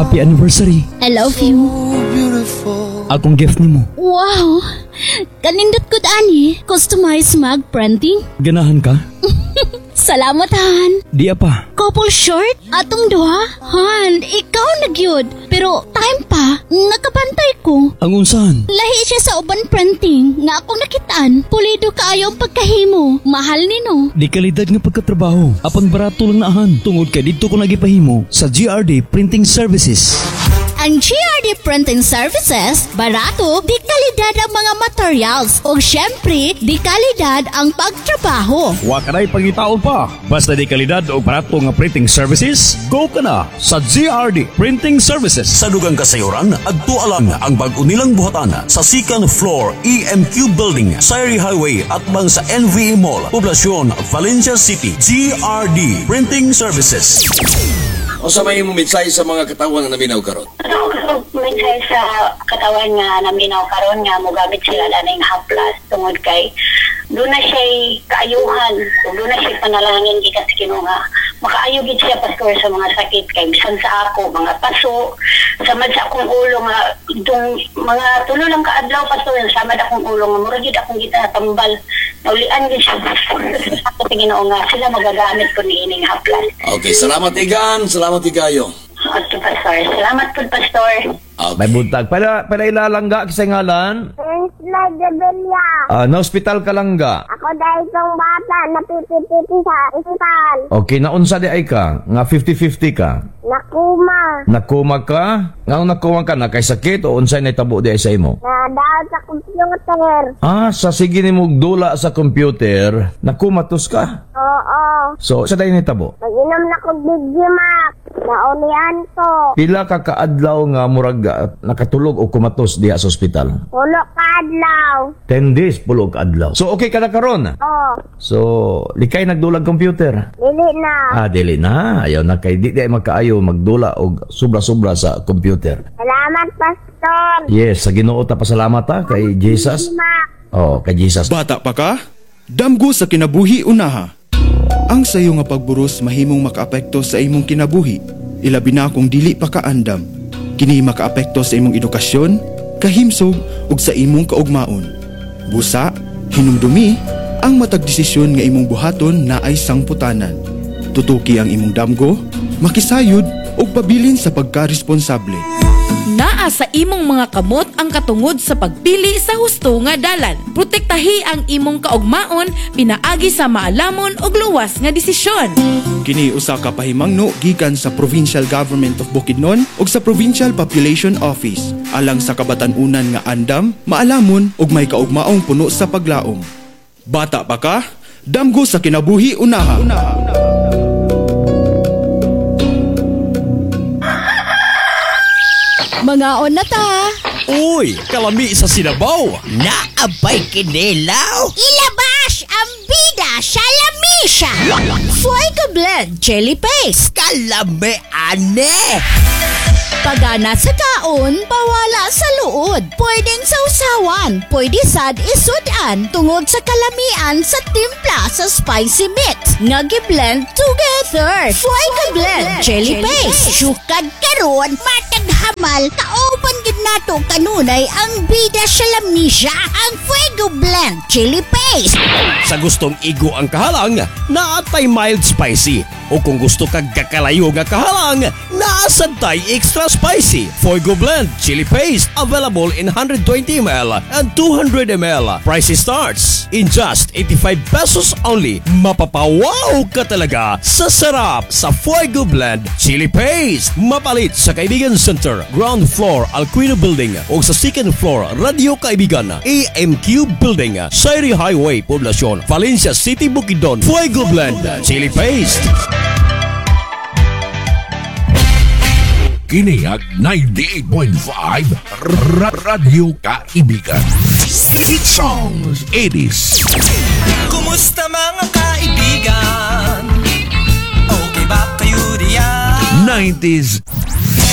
Happy anniversary. I love you. Akong gift nimo. Wow! Kanindot gud ani. Customized mug printing. Ganahan ka? Salamat, Han. Di pa. Couple shirt? Atong duha? Han, ikaw na gyud. Pero time pa, nakabantay ko. Ang unsahan? Lahi siya sa uban printing nga akong nakitaan. Pulido kaayo ang pagkahimo. Mahal nino. Di kalidad nga pagkatrabaho. Apan barato lang naahan. Tungod kay didto ko nagipahimo sa GRD Printing Services. Ang GRD Printing Services, barato, di kalidad ang mga materials o syempre, di kalidad ang pagtrabaho. Wa ka na'y pangitaon pa. Basta di kalidad o barato nga printing services, go ka na sa GRD Printing Services. Sa dugang kasayuran, adto lang ang bag-o nilang buhatan sa second floor EMQ Building, Sayri Highway at bang sa NVA Mall, Poblacion, Valencia City. GRD Printing Services. Unsa may imong mensahe sa mga katawan nga naminaw karon? Ano mensahe sa katawan nga naminaw karon nga mogamit sila aning haplas tungod kay doon na siya'y kaayuhan, ug doon na siya'y panalangin gikan sa Ginoo nga makaayo gid siya, pastor, sa mga sakit kay bisan sa ako mga paso, samad sa akong ulo nga dung mga 3 lang ka adlaw, pastor, samad akong ulo nga mura gid akong gitambal, naulian gid siya, pastor. Ako sa Ginoo nga sila magagamit ko niining haplas. Okay, salamat Igan, salamat Igayo. Okay, pastor. Salamat po, pastor. Okay. May buntag. Pala ilalangga kisay ngalan? Angela Gabelia. Ah, na ospital ka langga. Ako dahil itong bata na pipipiti sa ospital. Okay, naunsa di ay ka? Nga 50-50 ka? Nakuma. Nakuma ka? Nga nakuma ka, nakay sakit o unsay naitabo di ay sa imo? Nadaan sa computer. Ah, sa sige ni mong dula sa computer, nakumatos ka? Oo. So, sa dahil naitabo? Mag-inom na ko Digimax. Naulian ko. Pila ka kaadlaw nga murag nakatulog o kumatos diha sa ospital? Pulo ka adlaw. 10 days, pulo ka adlaw. So, okay ka na karon? Oo. So, likay nagdulag computer? Dili na. Ah, dili na. Ayaw na kay di magkaayo magdula og sobra-sobra sa computer. Salamat, pastor. Yes, sa Ginoo ta pasalamat ta kay Jesus. Digimax. Oh, kay Jesus. Bata pa ka? Damgo sa kinabuhi unaha. Ang sayo nga pagburos mahimong makaapekto sa imong kinabuhi, ilabi na kung dili pa kaandam. Kini makaapekto sa imong edukasyon, kahimsog ug sa imong kaugmaon. Busa, hinumdumi, ang matag desisyon nga imong buhaton naay sangputanan. Tutuki ang imong damgo, makisayod ug pabilin sa pagkaresponsable. Naa sa imong mga kamot ang katungod sa pagpili sa husto nga dalan. Protektahi ang imong kaugmaon pinaagi sa maalamon ug luwas nga desisyon. Kini usa ka pahimangno gikan sa Provincial Government of Bukidnon ug sa Provincial Population Office alang sa kabatan-unan nga andam, maalamon ug may kaugmaong puno sa paglaom. Bata pa ka? Damgo sa kinabuhi unaha. Mangaon na ta. Uy, kalami sa sinabaw. Naabay kinilaw. Ilabas ang bida sa lamisa. Fuego Blend Chili Paste. Kalami ane. Pagana sa kaon, pawala sa luod. Pwedeng sausawan, pwede sad isudan tungod sa kalamian sa timpla sa spicy mix. Nga gi-blend together. Fuego Blend Chili Paste. Sukad karon, mataghamal, kauban gid nato kanunay ang bida sa lamisa, ang Fuego Blend Chili Paste. Sa gustong igo ang kahalang, naatay mild spicy. O kung gusto kag kakalayo nga kahalang, naasad tay extra spicy. Fuego Blend Chili Paste available in 120 ml and 200 ml. Price starts in just 85 pesos only. Mapapawaw ka talaga sa sarap sa Fuego Blend Chili Paste. Mapalit sa Kaibigan Center, ground floor, Alquino Building o sa second floor, Radio Kaibigan, AMQ Building, Sayri Highway, Poblacion, Valencia City, Bukidnon. Fuego Blend Chili Paste. Kini ang 98.5 Radyo Kaibigan. Hit Songs 80s. Kumusta mga kaibigan? Okay ba kayo diyan? 90s.